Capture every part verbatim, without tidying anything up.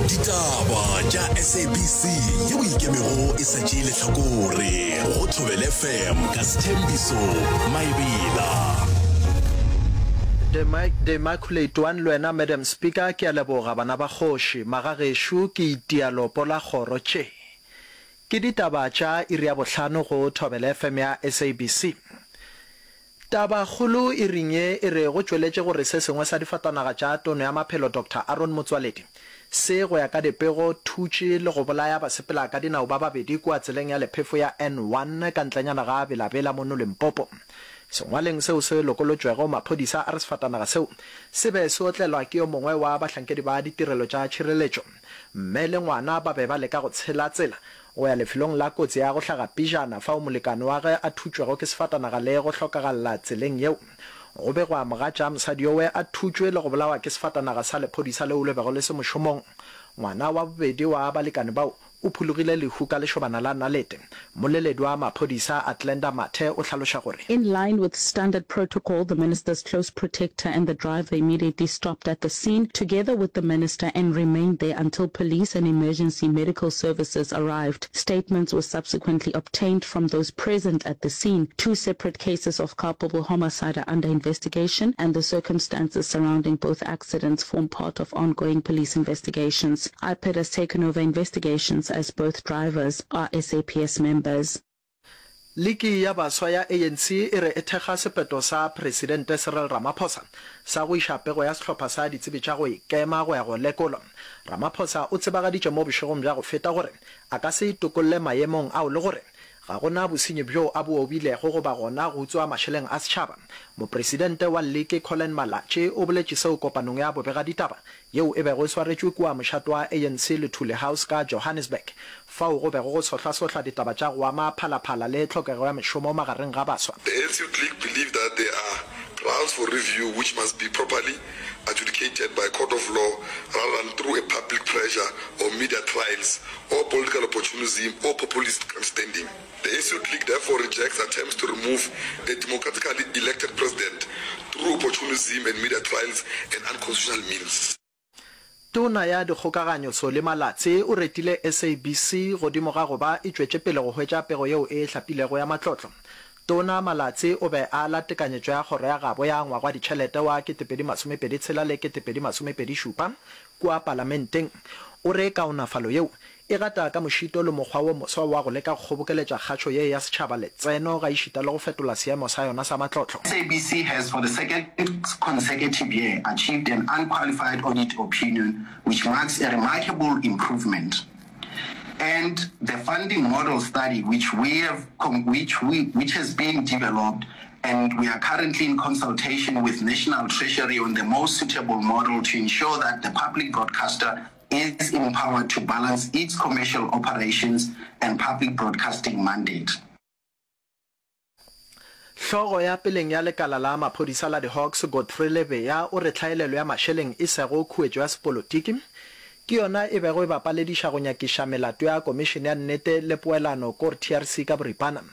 Ditaba tša S A B C yeo ikemego e sa tšee lehlakore go Thobela F M ka Sethembiso Maebela. The Immaculate One le wena Madam Speaker, ke a leboga. Bana ba kgoši, magagešo, ke itia lopo la kgoro. Tše ke ditaba tša iri ya bohlano go Thobela F M ya S A B C. Tabakgolo iring ye e re go tšweletše gore se sengwe sa difatanaga tša tono ya maphelo Doctor Aaron Motsoaledi se go ya ka dipego thutše le go bolaya basepela ka dinao ba babedi kua tseleng ya lephefo ya N one ka ntlenyana ga Bela-Bela mono Limpopo. Sengwaleng seo se lokolotšwego, maphodisa a re sefatanaga seo se be se otlelwa ke yo mongwe wa bahlankedi ba ditirelo tša tšhireletšo. Mme le ngwana ba be ba leka go tshela tsela go ya lefelong la kotsi ya go hlaga pejana fao molekane wa ge a thutšwego ke sefatanaga le go hlokagalla tseleng yeo. Go be go a mogatša mosadi yowe a thutšwe le go bolawa ke sefatanaga sa lephodisa leo le bego le se mošomong. Ngwana wa bobedi wa balekane bao o phologile lehu ka lešobana la nalete. Mmoleledi wa maphodisa Athlenda Mathe o hlaloša gore. In line with standard protocol, the minister's close protector and the driver immediately stopped at the scene together with the minister and remained there until police and emergency medical services arrived. Statements were subsequently obtained from those present at the scene. Two separate cases of culpable homicide are under investigation, and the circumstances surrounding both accidents form part of ongoing police investigations. I P E D has taken over investigations as both drivers are S A P S members. Liki ya baswa ya A N C e re e thekga sephetho sa Presidente Cyril Ramaphosa sa go iša pego ya sehlopha sa ditsebi tša go ikema go ya go lekolwa. Ramaphosa o tsebagaditše mo bošegong bja go feta gore a ka se itokolle maemong ao le gore ga go na bosenyi bjo a bo obilego goba gona go utswa mašeleng a setšhaba. Mopresidente wa liki Collen Malatji o boletše seo kopanong ya bobegaditaba yeo e bego e swaretšwe kua mošate wa A N C Luthuli House ka Johannesburg, fao go bego go sohlasohla ditaba tša go ama Phalaphala le tlhokego ya mešomo magareng ga baswa. The A N C Youth League believe that there are grounds for review which must be properly adjudicated by court of law rather than through a public pressure or media trials or political opportunism or populist grandstanding. The A N C Youth League therefore rejects attempts to remove a democratically elected president through opportunism and media trials and unconstitutional means. Tona ya Dikgokaganyo Solly Malatsi o retile S A B C godimo ga go ba e tšwetše pele go hwetša pego yeo e hlapilego ya matlotlo. Tona Malatsi o be a ala tekanyetšo ya kgoro ya gabo ya ngwaga wa ditšhelete wa ketepedi masomepedi tshela le ketepedi masomepedi šupa kua palamenteng. O re kaonafalo yeo e gata ka mošito le mokgwa wo moswa wa go leka go kgobokeletša kgašo ye ya setšhaba letseno ga ešita le go fetola seemo sa yona sa matlotlo. S A B C has for the second consecutive year achieved an unqualified audit opinion which marks a remarkable improvement. And the funding model study which we have which we which has been developed and we are currently in consultation with National Treasury on the most suitable model to ensure that the public broadcaster is empowered to balance its commercial operations and public broadcasting mandate. Hlogo ya peleng ya lekala la maphodisa la di-Hawks Godfrey Lebeya o re tlhaelelo ya mašeleng e sego khuetšo ya sepolotiki ke yona e bego e ba palediša go nyakiša melato ya Komišene ya Nnete le Poelano kor T R C ka boripana.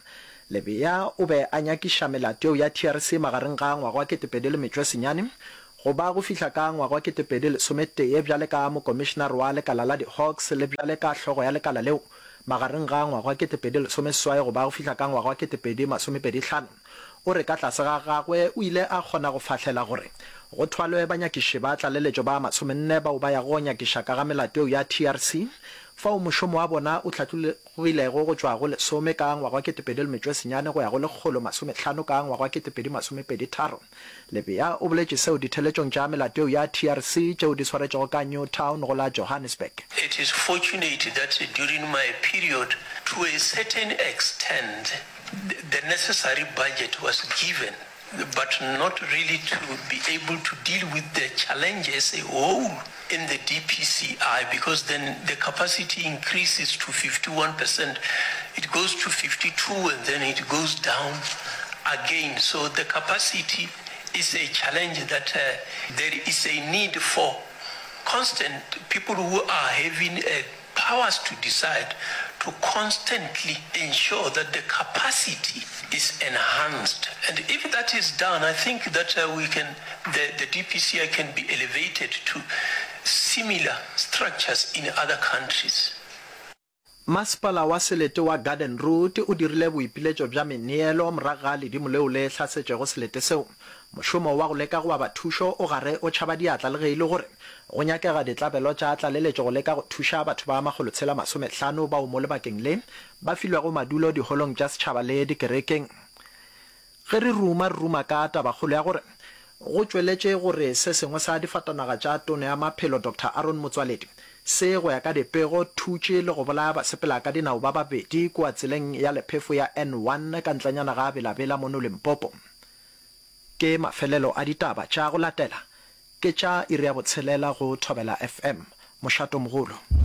Lebeya o be a nyakiša melato yeo ya T R C magareng ga ngwaga wa ketepedi le metšo e senyane go ba go fihla ka ngwaga wa ketepedi lesometee bjale ka mokomišenare wa lekala la di-Hawks le bjale ka hlogo ya lekala leo magareng ga ngwaga wa ketepedi lesomeseswai go ba go fihla ka ngwaga wa ketepedi masomepedi hlano. O re ka tlase ga gagwe o ile a kgona go fahlela gore go thwalwe banyakiši ba tlaleletšo ba masomenne bao ba yago go nyakiša ka ga melato yeo ya T R C, fao mošomo wa bona o hlatlogilego go tšwa go lesome ka ngwaga wa ketepedi le metšo e senyane go ya go lekgolo masomehlano ka ngwaga wa ketepedi masomepedi tharo. Lebeya o boletše seo ditheletšong tša melato yeo ya T R C tšeo di swaretšego ka Newtown go la Johannesburg. It is fortunate that during my period, to a certain extent, the necessary budget was given, but not really to be able to deal with the challenge as a whole in the D P C I, because then the capacity increases to fifty-one percent. It goes to fifty-two and then it goes down again. So the capacity is a challenge that uh, there is a need for constant people who are having uh, powers to decide to constantly ensure that the capacity is enhanced. And if that is done, I think that uh, we can, the, the D P C I can be elevated to similar structures in other countries. Masepala wa selete wa Garden Route o dirile boipiletšo bja meneelo morago ga ledimo leo le hlasetšego selete seo. Mošomo wa go leka go aba thušo o gare o tšhaba diatla le ge e le gore go nyakega ditlabelo tša tlaleletšo go leka go thuša batho ba makgolotshela masomehlano bao mo lebakeng le ba filwego madulo diholong tša setšhaba le dikerekeng. Ge re ruma, re ruma ka tabakgolo ya gore go tšweletše gore se sengwe sa difatanaga tša Tona ya Maphelo Doctor Aaron Motsoaledi se, go ya ka dipego, thutše le go bolaya basepela ka dinao ba babedi kua tseleng ya lephefo ya N one ka ntlenyana ga Bela-Bela mono Limpopo. Ke mafelelo a ditaba tša go latela ke tša iri ya botshelela go Thobela F M. Mošatomogolo.